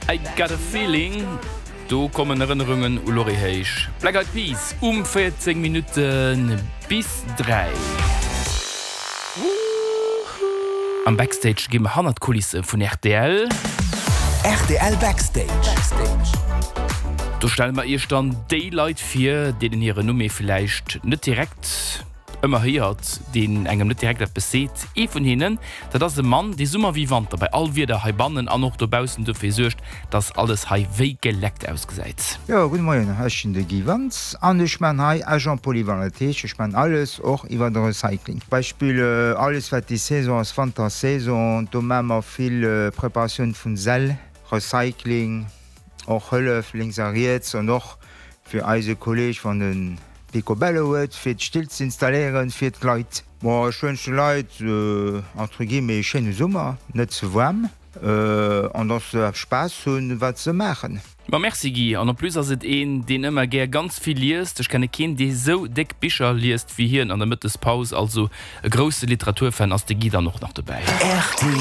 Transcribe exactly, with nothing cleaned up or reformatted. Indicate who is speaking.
Speaker 1: I got a feeling. Do kommen Erënnerungen u Lorry héich. Black Eyed Peas um véierzéng Minutte bis dräi. Am Backstage gi mer hannert d'Kulisse vun rtl.
Speaker 2: Rtl Backstage.
Speaker 1: Do stelle mer iech dann déi Leit vir, deenen hiren Numm ee villäicht net direkt ëmmer héiert, deen engem net direkt eppes seet. Ee vun hinnen, dat ass e Mann, dee Summer wéi Wanter bei all Wieder heibannen an och dobaussen dofir suergt, dass alles hei wéi geleckt ausgesäit.
Speaker 3: Jo, gudde Moien, ech sinn de Guy Wantz an ech man hei Agent polyvalent. Dat heescht, ech man alles, och iwwer de Recycling. Beispill alles wat déi Saison ass, Wantersaison, do maa mer vill Preparatioun vun Säll, Recycling, och Hëllef lénks a riets an och fir eise Kolleg wann en Picobello huet fir d'Still ze installéieren fir d'Leit. Bon, ech wënschen de Leit entre guillemets e schéine Summer, net ze waarm an dass se Spaass hunn wat se maachen.
Speaker 1: Ma merci Guy, an en plus ass et een deen ëmmer gär ganz vill liest, ech kenne keen dee sou déck Bicher liest wéi hien an der Mëttespaus, also e grousse Literaturfan ass de Guy dann och nach dobäi.
Speaker 2: Rtl.